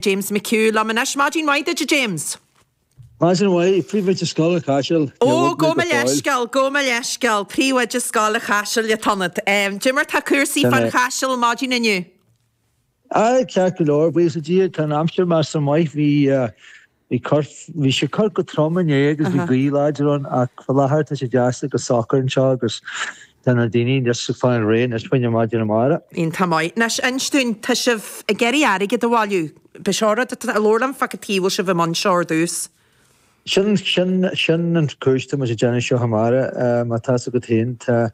James McHugh liom anois. Maidin mhaith duit a James. Maidin mhaith, Príomhoide Scoil an Chaisil. Ó, gabh mo leithscéal, gabh mo leithscéal, Príomhoide Scoil an Chaisil atá ionat. Cad é mar tá cúrsaí fán Chaiseal maidin inniu? Aye, ceart go leor, buíochas le Dia, tá an aimsir measartha maith, bhí bhí cor, bhí sé corr go trom inné agus bhí gaoth láidir ann ach faoi láthair tá sé deas agus socair anseo agus Tá na daoine anois ag fáil réidh anois fá choinne maidin amárach. Iontach maith. Anois, inis dúinn, tá sibh ag iarraidh airgead a bhailiú. B'é seo rud atá, labhair liom fá cad chuige a bhfuil sibh i mbun seo ar dtús. Sin, sin, sin an chúis tá muid ag déanamh seo amárach. Mar tá's agat féin, tá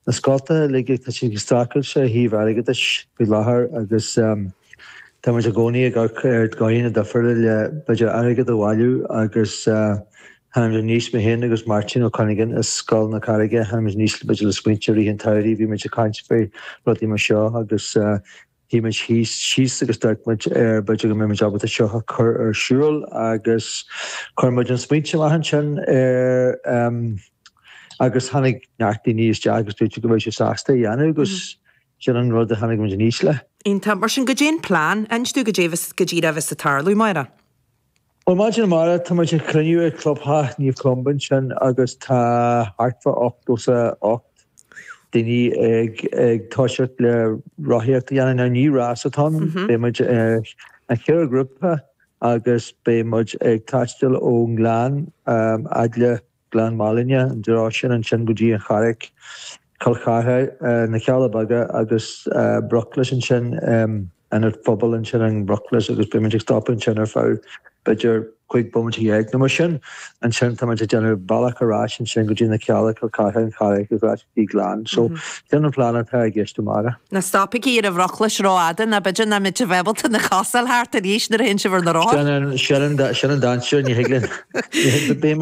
na scoltacha uilig, tá siad ag streachailt ó thaobh airgeadais faoi láthair agus tá muid i gcónaí ag amharc ar dhóigheanna difriúla le b'fhéidir airgead a bhailiú agus Tháinig muid aníos, mé féin agus Máirtín Ó Cuinneagáin as Scoil na Carraige, tháinig muid aníos b'fhéidir le smaointe i rith an tsamhraidh, bhí muid ag caint faoi rudaí mar seo agus shuigh muid thíos, síos agus d'amharc muid ar b'fhéidir go mbeidh muid ábalta seo a chur ar siúl agus chuir muid an smaointe amach ansin ar agus tháinig neart daoine isteach agus dúirt siad go mbeadh siad sásta é a dhéanamh agus sin an rud a tháinig muid aníos le. Iontach. Mar sin, goidé an plean? Inis dúinn goidé go díreach a bheas ag tarlú, amárach. Bhuel, maidin amárach, tá muid ag cruinniú ag Clubtheach Naomh Columba ansin agus tá thart fá 88 daoine ag ag toiseacht le rothaíocht a dhéanamh. Now ní rás atá ann, beidh muid i cheithre ghrúpa agus beidh muid ag taisteal ón nGleann fhad le Gleann Málainne, an dtreo sin ansin go dtí an Charraig, Cill Chartha, na Cealla Beaga agus Bruclais ansin, ionad phobail ansin in Bruclais agus beidh muid ag stopadh ansin ar feadh b'fhéidir 15 bomaite nó mar sin. Ansin tá muid ag déanamh bealach ar ais ansin go dtí na Cealla, Cill Chartha, an Charraig agus ar ais go dtí Gleann. So sin an plean atá i gceist amárach. Ná stopaigí ar an Bhruclais rófhada nó b'fhéidir nach mbeidh sibh ábalta na cosa a fháil thart arís nuair a théann sibh ar na rothair. Sin an dainséar, ní thig linn.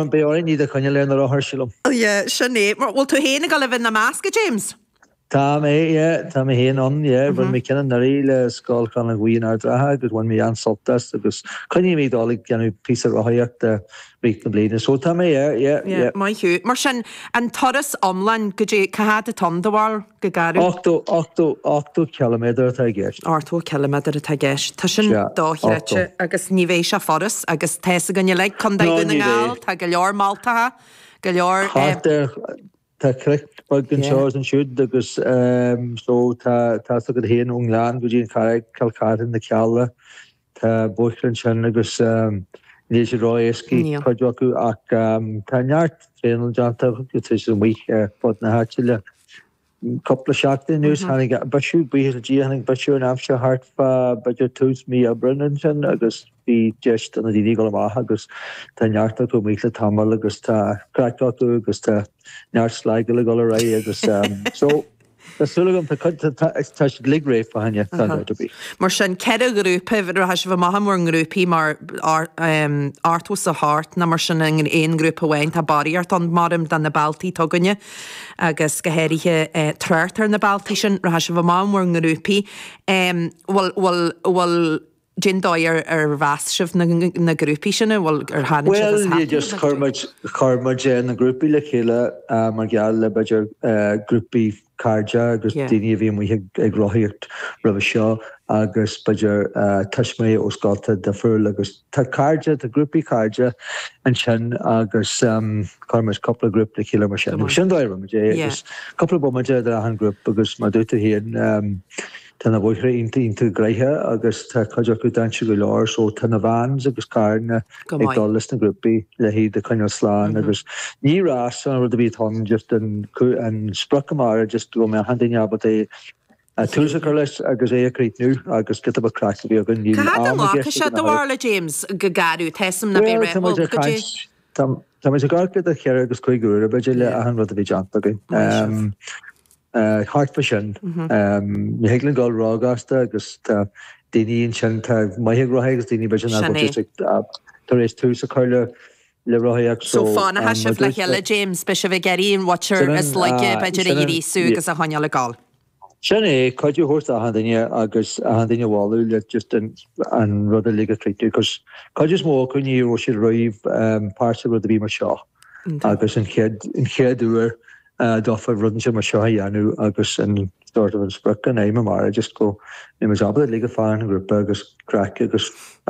Beidh orainn iad a choinneáil ar na rothair, sílim. Yeah, sin é. Bhfuil tú féin ag dul a bheith ina measc, a James? Tá mé, yeah, tá mé féin ann, yeah. Rinne mé ceann anuraidh le Scoil Chlann Ghaoth in Ard an Rátha agus bhain mé an-sult as agus coinníonn mé ag dul ag déanamh píosa rothaíochta rith na bliana. So tá mé, yeah, yeah, yeah. Maith thú. Mar sin, an turas iomlán, goidé, cá fhad atá ann, do bharúil, go garbh? 80, 80, 80 ciliméadar atá i gceist. 80 ciliméadar atá i gceist. Tá sin dochreidte agus ní bheidh sé furast agus tá fhios againn uilig, Contae Dhún na nGall, tá go leor mealltacha, go leor. Thart ar, tá cnoic beag anseo is ansiúd agus so tá, tá fhios agat féin ón nGleann go dtí an Charraig, Cill Chartha, na Cealla, Tá bóithre ansin agus níl siad ró-éascaí, cuid acu, ach tá neart traenáil déanta agus tá siad amuigh ar fud na háite le cúpla seachtain anuas. Tháinig bisiú, buíochas le Dia, tháinig bisiú ar an aimsir thart fá b'fhéidir tús mí Aibreáin ansin agus bhí deis do na daoine dul amach agus tá neart acu amuigh le tamall agus tá craic acu agus tá neart slagáil ag dul ar aghaidh agus so Tá súil agam, tá cuid, tá siad uilig réidh fá choinne, gan dabht ar bith. Mar sin, 4 ghrúpa, rachaidh sibh amach i bhur ngrúpaí mar 88 nó mar sin in aon ghrúpa amháin, tá barraíocht ann maram do na bealtaí atá againne agus go háirithe trácht ar na bealtaí sin, rachaidh sibh amach i bhur ngrúpaí. Bhfuil, bhfuil, bhfuil, Cén dóigh ar ar mheas sibh na na grúpaí sin, an bhfuil ar tháinig sibh as Bhuel, just chuir muid, chuir muid na grúpaí le chéile mar gheall le b'fhéidir grúpaí cairde agus daoine a bhí amuigh ag ag rothaíocht roimhe seo agus b'fhéidir tuismitheoirí ó scolta difriúil agus tá cairde, tá grúpaí cairde ansin agus chuir muid cúpla grúp le chéile mar sin. Sin an dóigh a rinne muid é agus cúpla bomaite idir achan grúp agus mar dúirt tú féin, Tá na bóithre iontach iontach gnoitheach agus tá cuid acu dainséarach go leor so tá na vans agus carranna ag dul leis na grúpaí le hiad a choinneáil slán agus ní rás an rud a bhí ann just an an sprioc amárach just go mbeadh achan duine ábalta é tús a chur leis agus é a chríochnú agus giota beag craic a bhí againn níl Cá fhad a am i nglacfaidh gceist sé ag an do bharúil a James go garbh tá 'fhios a'm ná beidh Bhuel tá muid ag caint tá muid ag amharc idir cheithre agus cúig uaire b'fhéidir le achan rud a bhí déanta againn. Thart fá sin. Ní thig linn dul róghasta agus tá daoine ansin atá maith ag rothaíocht agus daoine b'fhéidir nach bhfuil just ag tar éis tús a chur le le rothaíocht So so fanfaidh sibh le chéile James, beidh sibh ag iarraidh an mhuintir is laige b'fhéidir a ghríosú agus a choinneáil ag gabháil. Sin é, cuidiú a thabhairt d'achan duine agus achan duine a mholadh le just an an rud uilig a chríochnú cos cuid is mó acu ní raibh siad riamh páirteach i rud ar bith mar seo agus an chéad an chéad uair. dófa rud inteacht mar seo a dhéanamh agus an sort of an sprioc an aidhm amárach just go mbeidh muid ábalta uilig ag fanacht i ngrúpa agus craic agus.